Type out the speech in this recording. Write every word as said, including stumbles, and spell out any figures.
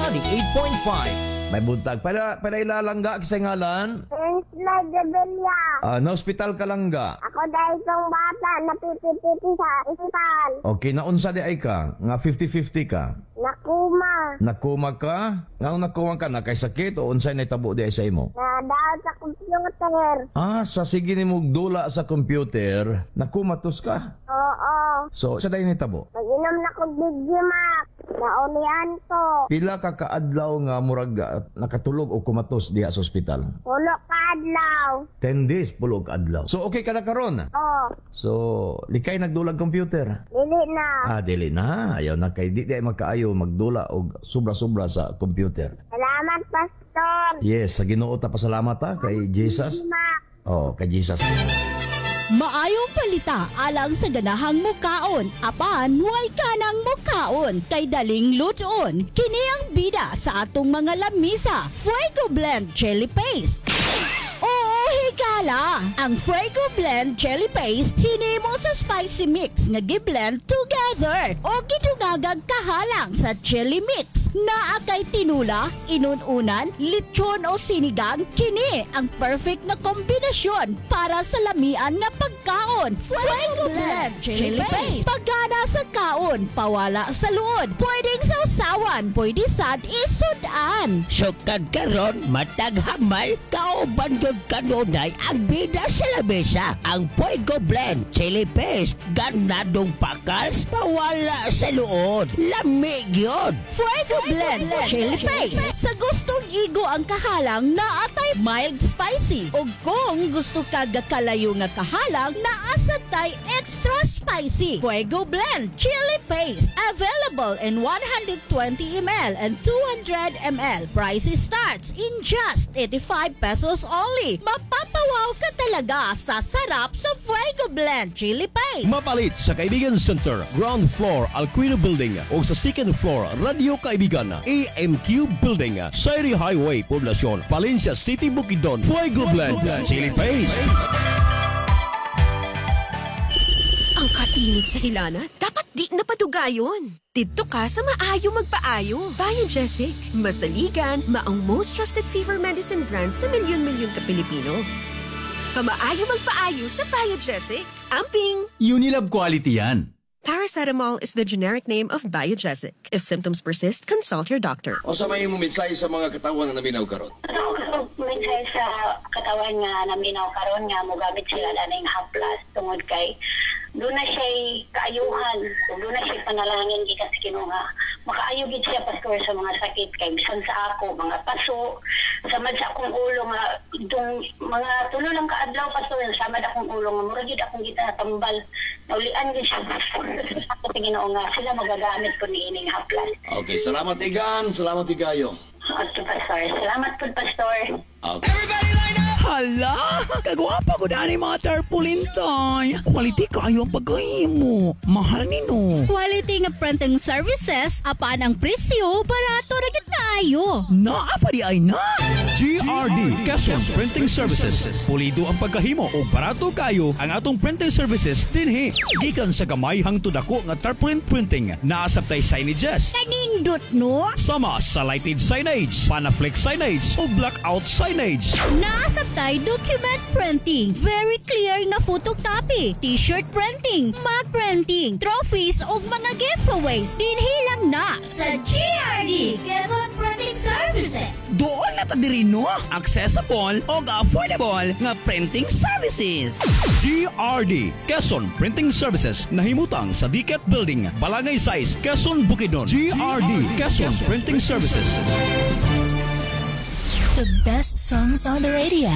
ninety-eight point five. May buntag. Pala, pala ilalangga kisay ngalan? Angela Gabelia. Ah, na ospital ka langga. Ako dahil itong bata na pipipiti sa ospital. Okay, naunsa di ay ka? Nga fifty-fifty ka? Nakuma. Nakuma ka? Nga nakuma ka, nakay sakit o unsay nahitabo di ay sa imo? Nadaot sa computer. Ah, sa sige ni dula sa computer, nakumatos ka. Oo. So, sa day nahitabo? Mag-inom na kong Digimax. Naulian ko. Pila ka kaadlaw nga murag ah, nakatulog o kumatos diha sa ospital? Pulo ka adlaw. ten days, pulo ka adlaw. So, okay ka na karon? Oo. So, likay nagdulag computer? Dili na. Ah, dili na. Ayaw na kay di di ay magkaayo magdula og sobra-sobra sa computer. Salamat, Pastor. Yes, sa Ginoo ta pasalamat ha kay Jesus. Digimax. Oh, kay Jesus. Maayong palita alang sa ganahang mukaon, apan way kanang mukaon kay daling lutoon. Kini ang bida sa atong mga lamisa. Fuego Blend Chili Paste. Oo, higala. Ang Fuego Blend Chili Paste hinimo sa spicy mix nga giblend together o gidungagag kahalang sa chili mix. Naa kay tinula, inununan, lechon o sinigang, kini ang perfect nga kombinasyon para sa lamian nga pagkaon. Fuego Blend Chili Paste. Pagana sa kaon, pawala sa luod. Pwedeng sausawan, pwede sad isudan. Sukad karon matag hamal, kauban gyud kanunay ang bida sa lamesa. Ang Fuego Blend Chili Paste, ganadong pakals, pawala sa luod. Lami gyud. Fuego Blend Chili Paste. Sa gustong igo ang kahalang, naa tay mild spicy. O kung gusto ka gakalayo nga kahalang, naa sad tay extra spicy. Fuego Blend Chili Paste. Available in one hundred twenty milliliters and two hundred milliliters. Price starts in just eighty-five pesos only. Mapapawaw ka talaga sa sarap sa Fuego Blend Chili Paste. Mapalit sa Kaibigan Center, ground floor, Alquino Building o sa second floor, Radio Kaibigan, A M Q Building, Sayri Highway, Poblacion, Valencia City, Bukidnon. Fuego Blend Chili Paste. Ang kainit sa hilanat, dapat di na padugayon. Didto ka sa maayo magpaayo. Biogesic, masaligan, maong most trusted fever medicine brand sa milyon-milyon ka Pilipino. Pamaayo magpaayo sa Biogesic. Amping! Unilab quality yan. Paracetamol is the generic name of Biogesic. If symptoms persist, consult your doctor. O sa may imong mensahe sa mga katawan nga naminaw karon? Mensahe sa katawan nga naminaw karon nga mogamit sila aning haplas tungod kay duna na siya'y kaayuhan ug duna na siya'y panalangin gikan sa Ginoo nga makaayo gid siya, Pastor, sa mga sakit, kay bisan sa ako mga paso, samad sa akong ulo nga dong mga tulo lang ka adlaw, Pastor, samad akong ulo nga mura gid akong gitambal. Naulian gid siya, Pastor. Ako sa Ginoo nga sila magagamit ko niining haplas. Okay, salamat Igan, salamat Igayo. Okay, Pastor. Salamat po, Pastor. Okay. Hala! Kagwapa ko dani mga tarpaulin, tay. Quality kayo ang pagkahimo. Mahal ni no. Quality nga printing services apan ang presyo barato ra gid kaayo. Naa pa di ay na. G R D Quezon Printing Services. Pulido ang pagkahimo o barato kayo ang atong printing services dinhi. Gikan sa gamay hangtod dako nga tarpaulin printing. Naa sab tay signages. Kanindot no. Sama sa lighted signage, panaflex signage o blackout signage. Naa sab tay document printing, very clear nga photocopy, t-shirt printing, mug printing, trophies ug mga giveaways. Dinhi lang na sa G R D Quezon Printing Services. Doon na ta diri no. Accessible og affordable nga printing services. G R D Quezon Printing Services, nahimutang sa Diket Building, Balangay Sais, Quezon, Bukidnon. G R D Quezon Printing Services. The best songs on the radio.